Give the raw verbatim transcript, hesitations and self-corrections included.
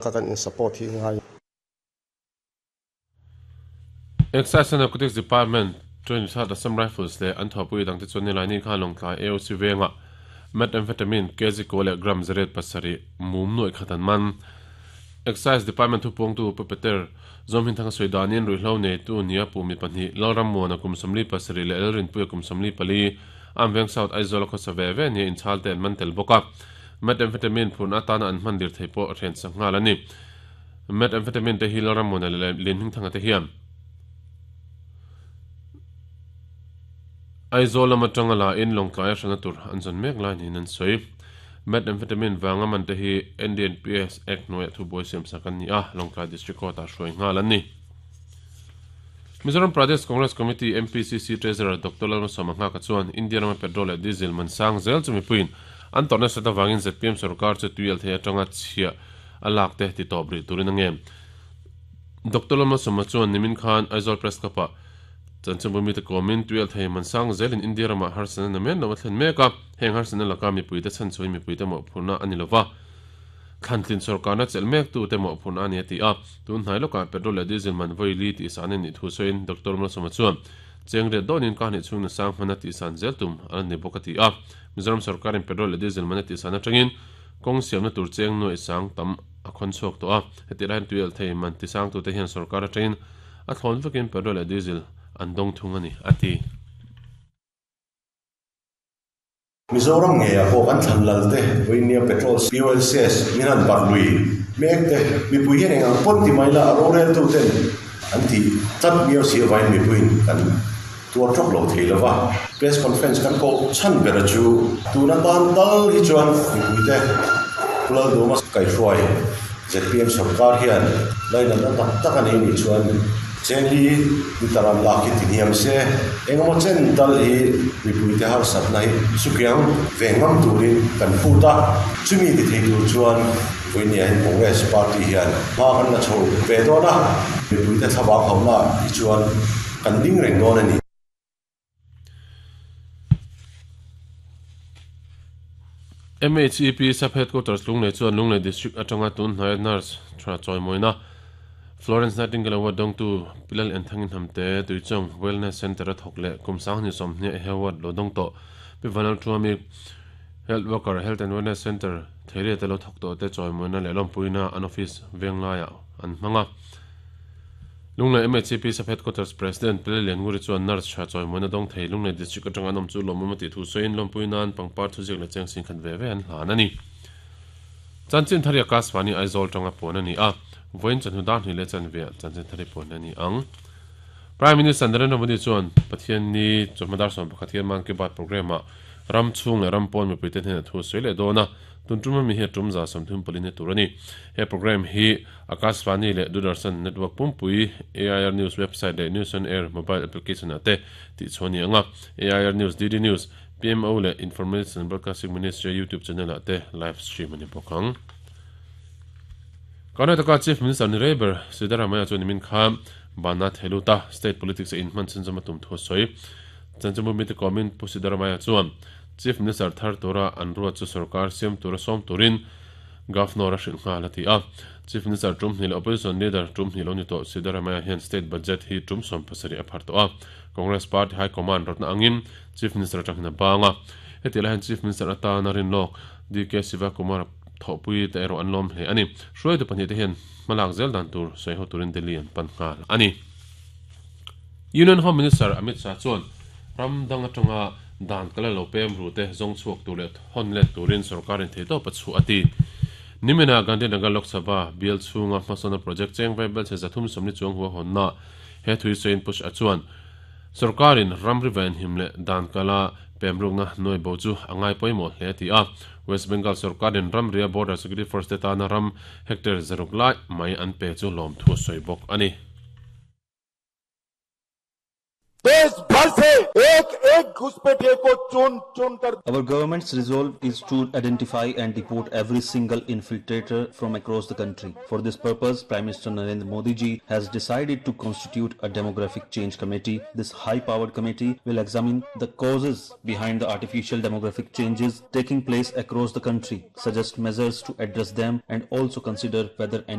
Ka kan in support hi ngai. Excise and Narcotics Department twenty third Assam Rifles leh an thawhpui dangte chuan nilaini khan Lawngtlai A O C vengah methamphetamine kg kaw leh gram zariat pasarih mum nuaih khat an man. Excise Department thupawngtu Pu Peter Zawmhinthanga sawi danin ruihhlo neitu nia pu mi pahnih Lalrammuana kum sawmli pasarih leh Lalrinpuia kum sawmli pali Amveng South Aizawl a khawsa ve ve nia inchhal te an man tel bawk a. Methamphetamine phurna atana an hman dir thei pawh hren sak nghal a ni. Methamphetamine te hi Lalrammuana leh Linhmingthanga te hian Aizawl lama tanga la in Lawngtlai a hrana tur an zawn mek lai niin an sawi. Methamphetamine vanga man te hi N D N P S Act hnuaiah thubuai siam sak an ni a, Lawngtlai District Court-ah hruai nghal an ni. Mizoram Pradesh Congress Committee M P C C Treasurer Doctor Lalmasawma Nghaka chuan India rama petrol leh diesel man sang zel chu mipuiin an tawrh nasat avangin Z P M sarkar chu tui althei atanga chhiah a lak te ti tawp rih turin a nge. Doctor Lalmasawma chuan nimin khan Aizawl Press Club-ah chanchinbu mite kawmin tui althei man sang zelin India ramah harsatna na men lo a thlen mek a, heng harsatna laka mipuite chhanchhuain mipuite mawhphurhna a ni lova, thlantlin sarkarna chelh mek tu te mawhphurhna a ni a ti a. Tun hnai lawkah petrol leh diesel man vawi li tih san a nih thu sawiin Doctor Malsawma chuan cheng riat dawnin ka hnih chhung na sang hmana tih san zel tum a la ni bawk a ti a. Mizoram sarkarin petrol leh diesel man a tih san atangin kawng siamna tur cheng nuaih sang tam a khawn chhuak tawh a. Heti laiin tui althei man ti sang tute hian sarkar atangin a thlawn vekin petrol leh diesel an dawng thung a ni a ti. Mizoram nge a pawh kan thlan lal te vawinia petrol fuel cess min han barh lui mek te mipui hian eng ang pawn ti mai la a rorel tu ten an ti tlat miau si avain mipuiin kan tuar tawk lo thei lova. Press conference kan koh chhan ber chu tuna tan tal hi chuan mipui te Pu Lalduma kaihruai Z P M sarkar hian lainat na tak tak a nei nih chuan chengli liter an lak hi ti hniam se engemaw chen tal hi mipui te harsatna hi sukiang ve ngam turin kan phut a. Chumi ti thei tur chuan vawinia hian Congress party hian hma kan la chho ve dawn a, mipui te thlavang hauhna hi chuan kan ding reng dawn a ni. M H E P Sub Headquarters Lunglei chuan Lunglei District atanga tun hnaia nurse tha chawimawina Florence Nightingale Award dawngtu Pilal Enthangin Hamte Tuichawng Wellness Centre a thawk leh kum sanghnih sawmhnih a award lo dawng tawh Pi Vanal Thuami Health Worker Health and Wellness Centre Theiria te lo thawk tawh te chawimawina leh lawmpuina an office venglaiah an hmang a. Lunglei M H E P Sub Headquarters President Pilal Liannguri chuan nurse tha chawimawina dawng thei Lunglei District atanga an awm chu lawmawm a tih thu sawiin lawmpui nan pangpar thuziak leh cheng sin khat ve ve an hlan a ni. Chanchin thari Akashvani Aizawl tanga puan a ni a, vawiin chawhnu dar hnih leh chanve ah chanchin thari puan a ni ang. Prime Minister Narendra Modi chuan Pathian ni chawhma dar sawm pakhat hian Mann Ki Baat program ah ram chhung leh ram pawn mipuite hnenah thu a sawi leh dawn a, tun tum ami hi a tum za sawmthum pali na tur a ni. He program hi Akashvani leh Doordarshan network pumpui A I R News website leh News on Air mobile application ah te tih chhuah a ni ang a, A I R News, D D News, P M O leh Information and Broadcasting Ministry YouTube channel ah te live stream a ni bawk ang. Karnataka Chief Minister ni rei ber Siddaramaiah chuan nimin kha bana theluta state politics a inhman chhunzawm a tum thu a sawi. Chanchinbu mite kawmin Pu Siddaramaiah chuan Chief Minister thar tura an ruat chu sarkar siam tura sawm turin Governor a hrilh nghal a ti a. Chief Minister tum hnih leh Opposition Leader tum hnih lo ni tawh Siddaramaiah hian state budget hi tum sawm pasarih a phar tawh a. Congress Party High Command rawtna angin Chief Minister atangin a bang a. Heti lai hian Chief Minister atana rinlawk D K Sivakumar thawhpui te erawh an lawm hle a ni. Hruaitu pahnih te hian hmalak zel dan tur sawi ho turin Delhi an pan nghal a ni. Union Home Minister Amit Shah chuan ram dang atanga dan kala lo pem ru te zawng chhuak tur leh hawn let turin sarkarin thei tawp a chhuah a ti. Nimina Gandhinagar Lok Sabha bial chhunga hmasawna project cheng vai bel che zathum sawmni chuang hua hawnna he thui sawiin push a chuan sarkarin ram ri ven him leh dan kala pemrukna nuai bo chu a ngai pawimawh hle a ti a. West Bengal sarkarin ram ria Border Security Force te tana ram hectare zaruk lai mai an pe chu lawm thu sawi bawk a ni. देश भर से एक एक घुसपैठिए को चुन चुन कर Our government's resolve is to identify and deport every single infiltrator from across the country. For this purpose, Prime Minister Narendra Modi ji has decided to constitute a demographic change committee. This high-powered committee will examine the causes behind the artificial demographic changes taking place across the country, suggest measures to address them, and also consider whether any